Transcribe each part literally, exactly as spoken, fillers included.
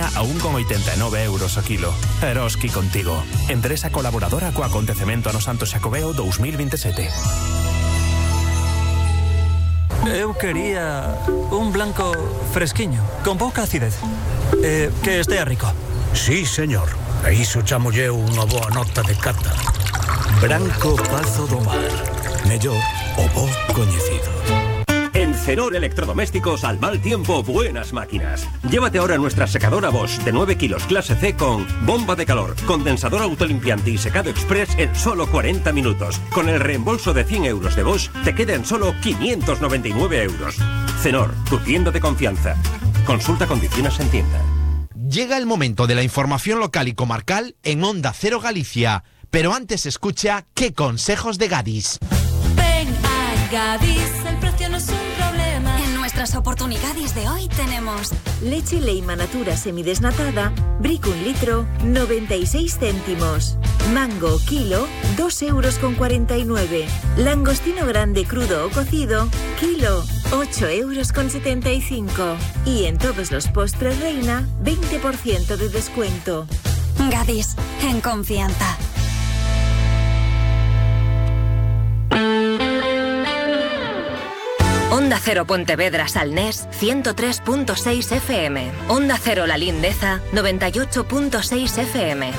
a un con oitenta e nove euros o kilo. Eroski contigo. Empresa colaboradora co acontecemento ano Santo Xacobeo dous mil vinte e sete. Eu quería un blanco fresquiño, con pouca acidez. Eh, que estea rico. Sí, señor. A iso chamolle unha boa nota de cata. Branco Pazo do Mar. Mellor o bo coñecido. En Cenor Electrodomésticos, al mal tiempo, buenas máquinas. Llévate ahora nuestra secadora Bosch de nueve kilos clase C con bomba de calor, condensador autolimpiante y secado express en solo cuarenta minutos. Con el reembolso de cien euros de Bosch, te queda en solo quinientos noventa y nueve euros. Cenor, tu tienda de confianza. Consulta condiciones en tienda. Llega el momento de la información local y comarcal en Onda Cero Galicia. Pero antes escucha qué consejos de Gadis. Ven a Gadis, el precio no es un problema. En nuestras oportunidades de hoy tenemos leche Leima Natura semidesnatada, brick un litro, noventa y seis céntimos. Mango kilo, dos euros con cuarenta y nueve. Langostino grande crudo o cocido, kilo, ocho euros con setenta y cinco. Y en todos los postres Reina, veinte por ciento de descuento. Gadis, en confianza. Onda Cero Pontevedra Salnés ciento tres punto seis F M. Onda Cero La Lindeza noventa y ocho punto seis F M.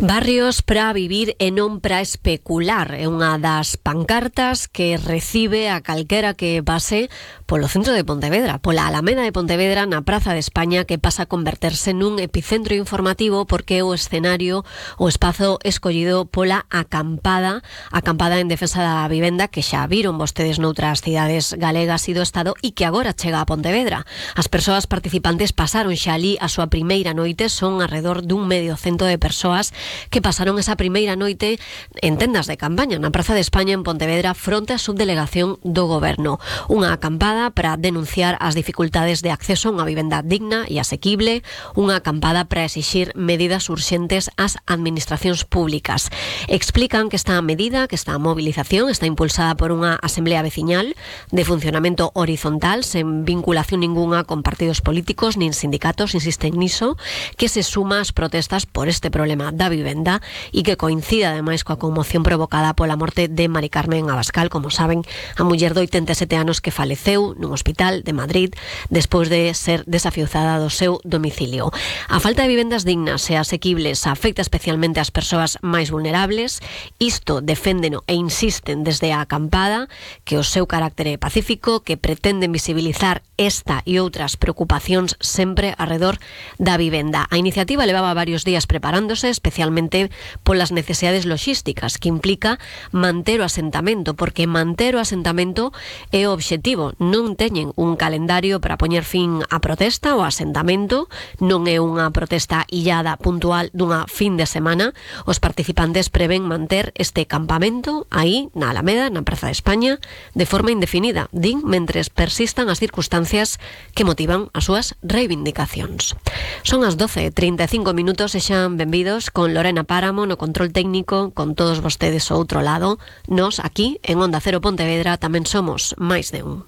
Barrios para vivir e non para especular é unha das pancartas que recibe a calquera que pase polo centro de Pontevedra, pola Alameda de Pontevedra, na Praza de España, que pasa a converterse nun epicentro informativo porque é o escenario, o espazo escollido pola acampada, acampada en defensa da vivenda que xa viron vostedes noutras cidades galegas e do Estado e que agora chega a Pontevedra. As persoas participantes pasaron xa ali a súa primeira noite, son alrededor dun medio cento de persoas que pasaron esa primeira noite en tendas de campaña na Praza de España en Pontevedra fronte á subdelegación do Goberno. Unha acampada para denunciar as dificultades de acceso a unha vivenda digna e asequible, unha acampada para exixir medidas urxentes ás administracións públicas. Explican que esta medida, que esta movilización está impulsada por unha asamblea veciñal de funcionamento horizontal sen vinculación ninguna con partidos políticos nin sindicatos, insisten niso, que se suma ás protestas por este problema da vivenda e que coincida ademais coa conmoción provocada pola morte de Mari Carmen Abascal, como saben, a muller de oitenta e sete anos que faleceu nun hospital de Madrid despois de ser desafiuzada do seu domicilio. A falta de vivendas dignas e asequibles afecta especialmente ás persoas máis vulnerables. Isto deféndeno e insisten desde a acampada que o seu carácter é pacífico, que pretenden visibilizar esta e outras preocupacións sempre arredor da vivenda. A iniciativa levaba varios días preparándose, especialmente polas necesidades logísticas que implica manter o asentamento, porque manter o asentamento é o obxectivo. Non teñen un calendario para poñer fin á protesta. O asentamento non é unha protesta illada puntual dunha fin de semana. Os participantes prevén manter este campamento aí na Alameda, na Praza de España, de forma indefinida, din, mentres persistan as circunstancias que motivan as súas reivindicacións. Son as doce e trinta e cinco minutos e xan benvidos con Lorena Páramo no control técnico, con todos vostedes ao outro lado. Nos aquí en Onda Cero Pontevedra tamén somos máis de un.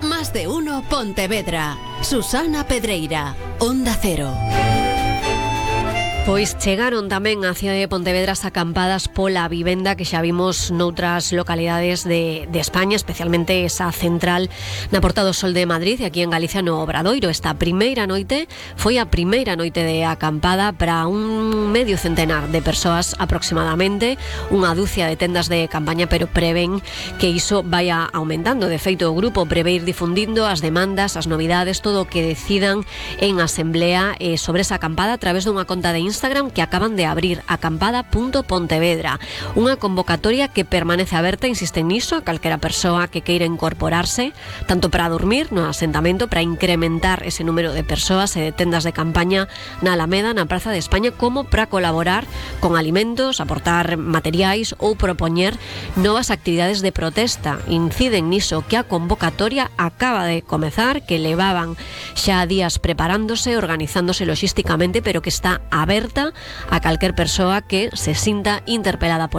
Más de uno Pontevedra. Susana Pedreira, Onda Cero. Pois chegaron tamén á cidade de Pontevedra as acampadas pola vivenda que xa vimos noutras localidades de, de España, especialmente esa central na Porta do Sol de Madrid e aquí en Galicia no Obradoiro. Esta primeira noite foi a primeira noite de acampada para un medio centenar de persoas aproximadamente, unha dúcia de tendas de campaña, pero prevén que iso vaya aumentando. De feito, o grupo prevé ir difundindo as demandas, as novidades, todo o que decidan en asamblea eh, sobre esa acampada a través dunha conta de Instagram que acaban de abrir, acampada punto pontevedra, unha convocatoria que permanece aberta, insisten niso, a calquera persoa que queira incorporarse, tanto para dormir no asentamento, para incrementar ese número de persoas e de tendas de campaña na Alameda, na Praza de España, como para colaborar con alimentos, aportar materiais ou propoñer novas actividades de protesta. Inciden niso, que a convocatoria acaba de comezar, que levaban xa días preparándose, organizándose logísticamente, pero que está aberta alerta a calquer persoa que se sinta interpelada por